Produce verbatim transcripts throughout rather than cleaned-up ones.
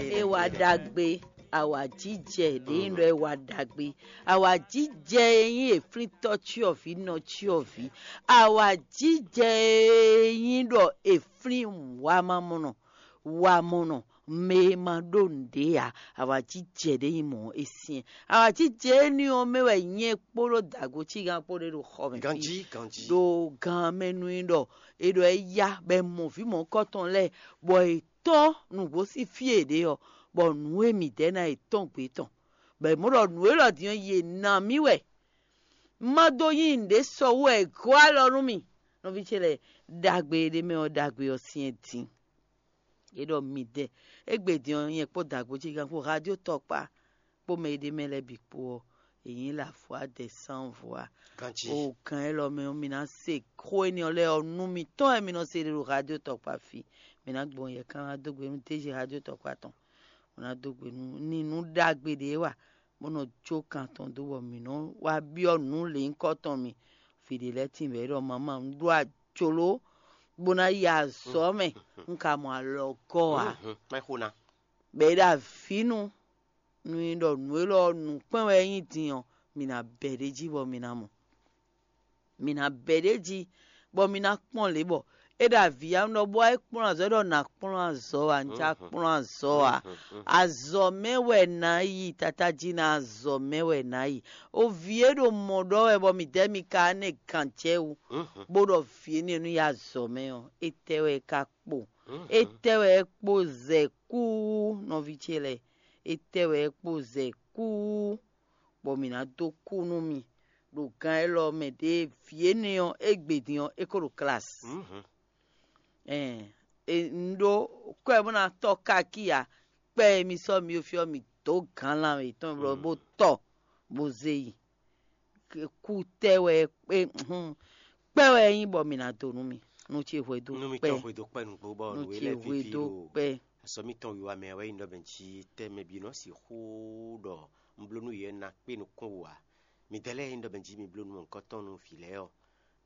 É wá ɖagbe. Awǎjijɛ ɖě nyí ɖɔ é wá ɖagbe. Awǎjijɛ e nyí eflíntɔ́ cyɔvǐ nɔ cyɔvǐ. Awǎjijɛ e nyí ɖɔ eflín wamamɔnɔ wamɔnɔ mɛ e ma ɖó nǔɖé ǎ. Awǎjijɛ ɖě nyí mɔ̌ é syɛ́n. Awǎjijɛ énɛ́ ɔ́ mɛ wɛ nyɛ kpódó dǎgocí gán kpó ɖé ɖo xɔ mɛ fí. Ganjí, ganjí. Ɖo gan mɛ nú i ɖɔ è ɖɔ é yá bɔ è mɔ vǐ mɔ̌hunkɔtɔn lɛ́ɛ, bɔ è tɔ́n nǔgbó sín fí e ɖě ɔ́, bɔ nǔ e mǐ dɛ́ ná è tɔ́n gbě tɔn, bɔ è mɔ ɖɔ nǔ élɔ́ din ɔ́, yě ná mì wɛ. Un ma dó nyí nǔɖé sɔ wú wɛ è gɔ́ alɔ nú mì. Nɔví ce lɛ́ɛ, ɖagbe e ɖ'é mɛ ɔ́, ɖagbe ɔ́ syɛ́n din. É ɖɔ midɛɛ, égbé din ɔ́, nyɛ kpó dǎgbó ce gán kpó radio tɔkpá kpó mɛ e ɖ'é mɛ lɛ́ɛ bǐ kpó ɔ́, è nyǐ la vɔ̌ adɛ sán vɔ̌ a. Ganjí. O gǎn élɔ́ mɛ ɔ́, mi ná se xó énɛ́ ɔ́ lɛ́ɛ ɔ́, nú mitɔn wɛ mi nɔ se ɖe ɖo radio tɔkpá fí. Mi ná gbɔn yɛ kán ná dó gbe nú déji radio tɔkpá tɔn. Bó ná dó gbe nú ní nú ɖagbe ɖě wa, bó nɔ jó kan tɔn dó bɔ mǐ nɔ wá byɔ́ nǔ lěnyíkɔ tɔn mi. Vǐ ɖé lɛ́ɛ tíin bɔ é ɖɔ mamá un ɖó ajoló bó ná yi azɔ̌ mɛ, un ka mɔ alɔgɔ́ ǎ. Má xo ná. Bɔ é ɖo avǐ nu, nú nyí ɖɔ nǔ élɔ́ ɔ́, nǔkpɛ́n wɛ é nyí din ɔ́, mǐ ná bɛ̌ ɖ'é jí bɔ mǐ ná mɔ. Mǐ ná bɛ̌ ɖ'é jí, bɔ mǐ ná kpɔ́n lě bɔ é ɖo avǐ ya nú ɖɔ bó wá é kplɔ́n azɔ̌, é ɖɔ nǎ kplɔ́n azɔ̌ ǎ, un já kplɔ́n azɔ̌ ǎ. Azɔ̌ mɛ wɛ nǎ yi, tata jí ná azɔ̌ mɛ wɛ nǎ yi. O vǐ e ɖo mɔ̌ ɖɔ wɛ bɔ mǐdɛɛ mi ka nɛ gǎn jɛ wú, bó ɖɔ vǐ énɛ́ nú yi azɔ̌ mɛ ɔ́, étɛ́ wɛ é ka kpo? Étɛ́ wɛ é kpo zɛ kú nɔví ce lɛ́ɛ? Étɛ́ wɛ é kpo zɛ kú? Bɔ mǐ ná dó kú nú mi ɖo gan élɔ́ mɛ ɖě vǐ énɛ́ ɔ́, égbé din ɔ́, é ko ɖo klasi. Ɛn, un ɖó kwɛ bó ná tɔ́ káki ǎ. Kpɛ́ e mi sɔ́ mi ɖo fí ɔ́, mi dǒ gǎn lanmɛ yětɔn bó tɔ bó zé yi. Kú tɛ́ wɛ kpɛ́ wɛ é nyí bɔ mi ná dó nú mi. Nú ce hwedó kpɛ́. Nú mitɔn hwedó kpɛ́ nǔgbó bɔ nú nǔ e ce lɛ́ɛ hwedó kpɛ́. Azɔ̌ mitɔn wiwa mɛ wɛ nyí ɖɔ mɛ jí tɛ́ mɛ bǐ nɔ sixú ɖɔ un bló nú yě ná kpé nukún wú ǎ. Midɛɛ lɛ́ɛ e nyí ɖɔ mɛ jí mi bló nú mɔ̌hunkɔtɔn nú vǐ lɛ́ɛ ɔ́,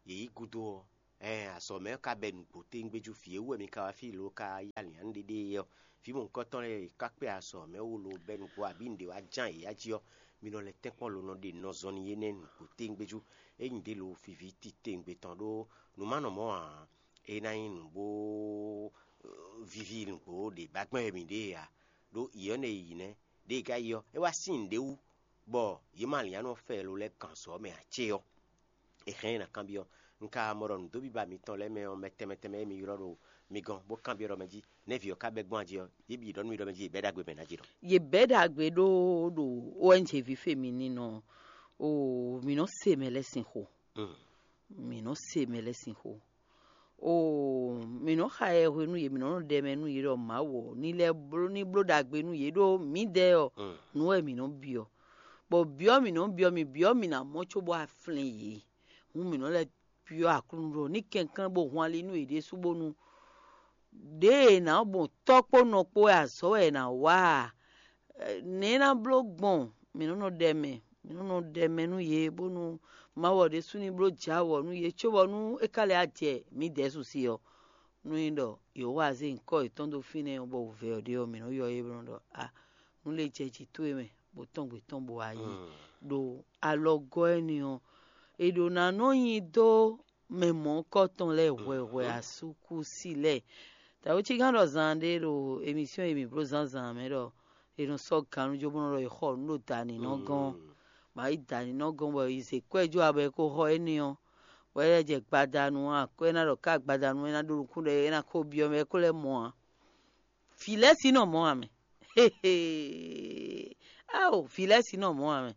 yě yí gúdo ɔ́, ɛɛn azɔ̌ mɛ ɔ́ ka bɛ nǔgbó téŋgbéjú vǐ e wú wɛ mi ka wá fí lo ka yí alǐnnyánú ɖé ɖe é ɔ́, vǐ mɔ̌hunkɔtɔn lɛ́ɛ e ka kpé azɔ̌ mɛ wú lo bɛ́ nǔgbó abǐ nǔɖé wá ján yě ya jí ɔ́, mi nɔ lɛ́ tɛ́nkpɔ́n lo nɔ ɖe nɔ zɔn n'i énɛ́ nǔgbó téŋgbéjú. Ényí ɖě lo vǐví titewungbe tɔn ɖó nǔ ma nɔ mɔ̌ ǎ, é ná nyí nǔ bó víví nǔgbó ɖě ba gbɛn wɛ mǐ ɖe ǎ. Ɖó yě ɔ́ nɛ yi nɛ́, ɖěe ka yi ɔ́, é wá sín nǔɖé wú, bɔ yě ma lǐn anɔ fɛ lo lɛ́ɛ kan sɔ mɛ ǎ cé ɔ́, è hɛn ɛ ná kanbyɔ́. Un ka mɔ ɖɔ nǔdóbíba mitɔn lɛ́ɛ mɛ ɔ́, mɛ tɛnmɛ tɛnmɛ e mi ylɔ́ ɖo mi gɔ́n bó kanbyɔ́ ɖɔ mɛ jí, nɛ̌ vǐ ɔ́ ka bɛ́ gbɔn a jí ɔ́, yě bǐ ɖɔ nú mi ɖɔ mɛ jí yě bɛ́ ɖagbe mɛ ná jí ɖɔ. Yě bɛ́ ɖagbe ɖó ɖo O N G ví fe mi ní nɔ o mǐ nɔ se mɛ lɛ́ɛ sin xo. Mǐ nɔ se mɛ lɛ́ɛ sin xo. Oo, mǐ nɔ xa yɛ hwenu yě mǐ nɔ nɔ ɖɛ mɛ nú yě ɖɔ Mawu ɔ́ ní lɛ́ bló ní bló ɖagbe nú yě ɖó mǐdɛɛ ɔ́, nǔ wɛ mǐ nɔ byɔ́. Bɔ byɔ́ mǐ nɔ byɔ́ mì byɔ́ mǐ ná mɔ cóbɔ a flɛ́n yě. Hǔn mǐ nɔ lɛ́ byɔ́ Aklúnɔ ɖɔ ní kɛnklɛ́n bó hwan ali nú yě ɖésú bónú ɖěe è nǎ gbɔn tɔ́ kpó nɔ kpó wɛ azɔ̌ wɛ è nǎ wa a? Nɛ̌ é ná bló gbɔn? Mǐ nɔ́ nɔ ɖɛ mɛ, mǐ nɔ́ nɔ ɖɛ mɛ nú yě bónú Mawu ɔ́ ɖésú ní bló jǎ wɔ̌ nú yě cóbɔ nú é ka lɛ́ jɛ mǐdɛɛ su sí ɔ́. Nú nyí ɖɔ Yehowa zé nyǐkɔ yětɔn dó fínɛ́ ɔ́, bɔ wǔvɛ́ ɔ́ ɖe ɔ́, mǐ nɔ́ ylɔ́ yě bó nɔ́ ɖɔ a nǔ lě jɛ jǐ towe mɛ, bó tɔ́n gbě tɔn bó wá yi ɖo alɔgɔ́ énɛ́ ɔ́, è ɖǒ ná nɔ nyi dó mɛ mɔ̌hunkɔtɔn lɛ́ɛ hwɛhwɛ asúkúsi lɛ́ɛ. Tawucígán ɖɔ zan ɖé ɖo emisɔn e mǐ bló zǎnzǎn mɛ ɖɔ è nɔ sɔ́ gannú jó bó nɔ ɖɔ è xɔ nǔ ɖo dǎninɔ́ gɔ́n. Mǎ yi dǎninɔ́ gɔ́n bɔ è zě kwɛ́ jó abɔ è ko xɔ énɛ́ ɔ́, bɔ é lɛ́ jɛ gbadanu akwɛ́ ná ɖɔ ká gbadanu é ná ɖó nukún ɖɔ é ná kó byɔ́ mɛ é kó lɛ́ mɔ ǎ. Vǐ lɛ́ɛ sí nɔ mɔ ǎ mɛ. Ao, vǐ lɛ́ɛ sí nɔ mɔ ǎ mɛ.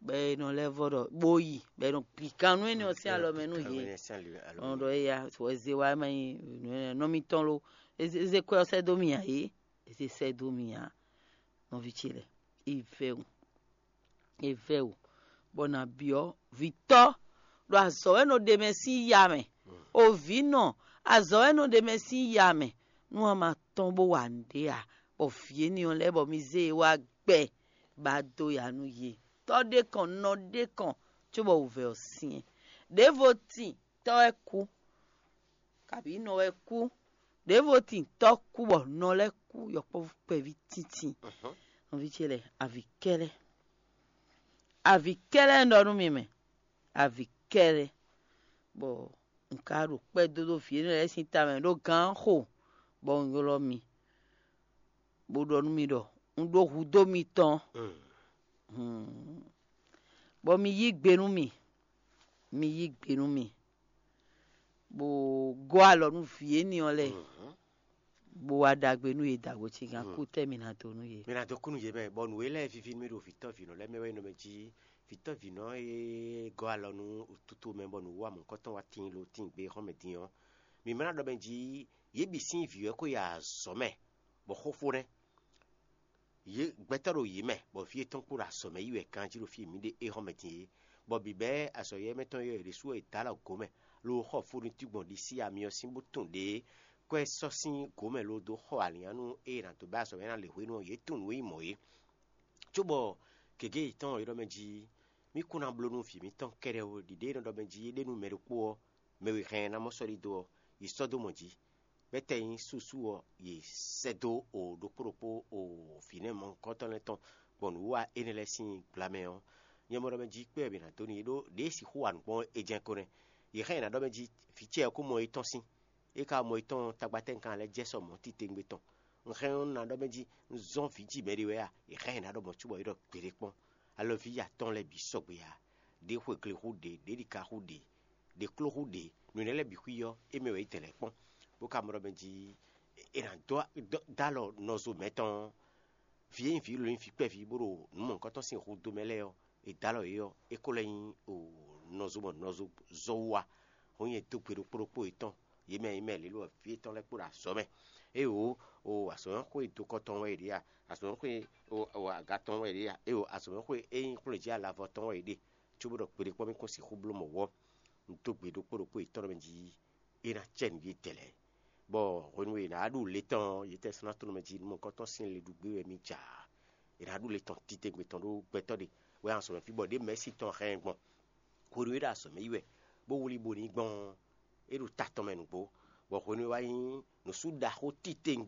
Bɔ è nɔ lɛ́ vɔ ɖɔ bó yi, bɔ è nɔ gbi kan nú énɛ́ ɔ́ sín alɔ mɛ nú yě. Ɔn ɖɔ éya wɛ zé wa ma nyi nɔ mitɔn lo. Eze kwɛ ɔ́ sɛ́ dó mì ǎ é. Eze sɛ́ dó mì ǎ. Nɔví ce lɛ́ɛ, é vɛ́ wǔ. É vɛ́ wǔ, bɔ nǎ byɔ́ vǐtɔ́ ɖo azɔ̌ wɛ nɔ ɖe mɛ sín ya mɛ. O vǐ nɔ, azɔ̌ wɛ nɔ ɖe mɛ sín ya mɛ. Nú a ma tɔ́n bó wa nǔɖé a, bɔ vǐ énɛ́ ɔ́ lɛ́ɛ bɔ mi zé e wá gbɛ, ba dó ya nú yě. Tɔ́ ɖé kɔn, nɔ ɖé kɔn, cóbɔ wǔvɛ́ ɔ́ syɛ́n. Ɖěvo tin, tɔ́ wɛ kú, kabǐ nɔ wɛ kú. Ɖěvo tin tɔ́ kú bɔ nɔ lɛ́ɛ kú yɔkpɔ́vú kpɛví tíntín. Nɔví ce lɛ́ɛ, avǐ kɛ́lɛ́, avǐ kɛ́lɛ́ un ɖɔ nú mi mɛ, avǐ kɛ́lɛ́, bɔ un ka ɖo kpɛ́ dó ɖó vǐ énɛ́ lɛ́ɛ sín tamɛ ɖó gǎn xo, bɔ un ylɔ́ mi, bó ɖɔ nú mi ɖɔ un ɖó hudó mitɔn, bɔ mi yí gbe nú mì, mi yí gbe nú mì, bó gɔ́ alɔ nú vǐ énɛ́ ɔ́ lɛ́ɛ, bó wá ɖagbe nú yě dǎgbó cígán kú tɛ́ mi ná dó nú yě. Mi ná dó kú nú yě mɛ, bɔ nǔ e lɛ́ɛ víví nú mì ɖo vǐtɔ́vǐnɔ lɛ́ɛ mɛ wɛ nyí nɔ mɛ jí vǐtɔ́vǐnɔ e gɔ́ alɔ nú toto mɛ bɔ nǔwiwa mɔ̌hunkɔtɔn wá tíin lo tíin gbe xɔ́mɛ din ɔ́. Mi ma ná ɖɔ mɛ jí yě bǐ sín vǐ wɛ ko yi azɔ̌ mɛ, bɔ xóxó nɛ́. Yě gbɛtɔ́ ɖo yě mɛ, bɔ vǐ yětɔn kpó ɖo azɔ̌ mɛ yi wɛ ganjí ɖo fí e mǐ ɖe é hɔn mɛ din é, bɔ bǐbɛ́ azɔ̌ yɛ́ mɛ tɔn yɔ́ yě ɖésú wɛ è dǎ alɔ gǒ mɛ, lo xɔ fó ɖo títí gbɔn ɖisí amyɔ sín bó tunwun ɖě kɔ́ ɛ sɔ́ sín gǒ mɛ lo dó xɔ alǐnnyánú e è nǎ dó bɛ́ azɔ̌ mɛ ná lě hwenu ɔ́, yě tunwun nǔ e nyí mɔ̌ é. Cóbɔ gěgé yětɔn ylɔ́ mɛ jí mì kún ná bló nú vǐ mǐtɔn kɛ́ɖɛ́ ó, ɖiɖe e nɔ ɖɔ mɛ jí é ɖe nú mɛ ɖokpó ɔ́, mɛ e hɛn ɛ ná mɔ sɔ́ ɖidó ɔ́, yi sɔ́ dó mɔ jǐ. Bɛ́tɛ́ nyí súsú ɔ́, yi sɛ́ dó o ɖokpó ɖokpó o vǐnɛ́ mɔ̌hunkɔtɔn lɛ́ɛ tɔn gbɔn nǔwiwa énɛ́ lɛ́ɛ sín gbla mɛ ɔ́, nyɛ mɔ ɖɔ mɛ jí kpé wɛ mǐ ná dó n'i ɖó ɖěe sixú wa nǔ gbɔn é jɛ́n ko nɛ́. Yě hɛn ɛ ná ɖɔ mɛ jí vǐ ce ɔ́ kó mɔ étɔn sín. É ka mɔ étɔn tagbatɛ́nkan lɛ́ɛ jɛ sɔ mɔ̌ titewungbe tɔn. Un hɛn ɔ́, un ná ɖɔ mɛ jí un zɔ́n vǐ ji mɛ ɖé wɛ a? È hɛn ɛ ná ɖɔ mɔ̌ cóbɔ é ɖɔ gbeɖé kpɔ́n. Alɔví atɔn lɛ́ɛ bǐ sɔgbe ǎ. Ɖě xwegle xú ɖě, ɖě ɖika xú ɖě, ɖě kló xú ɖě, nǔ énɛ́ lɛ́ɛ bǐ xwí ɔ́, é mɛ wɛ é dɛ̌n lɛ́ kpɔ́n, bó ka mɔ ɖɔ mɛ jí è nǎ dó dó alɔ nɔzo mɛ̌tɔn ɔ́, vǐ e nyí vǐ lǒ nyí vǐ kpɛví bó ɖo nǔ mɔ̌hunkɔtɔn sín xu dó mɛ lɛ́ɛ ɔ́, è dǒ alɔ yě ɔ́, é ko lɛ́ nyí nɔzo mɔ nɔzo zɔ́ wú wá. Hɔn nyɛ dó gbe ɖokpó ɖokpó yětɔn, yě mɛ yě mɛ lě lo ɔ́, vǐ yětɔn lɛ́ɛ kpó ɖo azɔ̌ mɛ. Éeǒ, o azɔ̌mɛxwé dokɔ tɔn wɛ è ɖe a? Azɔ̌mɛxwé aga tɔn wɛ è ɖe a? Éeǒ, azɔ̌mɛxwé e nyí xwlé jí alavɔ tɔn wɛ è ɖe. Cóbó ɖɔ gbeɖé kpɔ́n mì kún sixú bló mɔ̌ wɔ́. Un dó gbe ɖokpó ɖokpó yětɔn mɛ jí é ná cɛ nǔ yětɛn lɛ́ɛ. Bɔ hwenu e è nǎ ɖu le tɔn ɔ́, yětɛn sɔ́ ná tló mɛ jí nú mɔ̌hunkɔtɔn sín le ɖu gbé wɛ mì ja. È nǎ ɖu le tɔn titewungbe tɔn ɖó gbɛtɔ́ ɖe wɛ azɔ̌ mɛ fí bɔ ɖě mɛ̌si tɔn hɛn ɛ gbɔn. Hwenu e é ɖo azɔ̌ mɛ yi wɛ, bó wlí bo ní gbɔn ɔ́, é ɖo ta tɔn mɛ nǔgbó, bɔ hwenu e wá nyí nǔsú ɖaxó titewungbe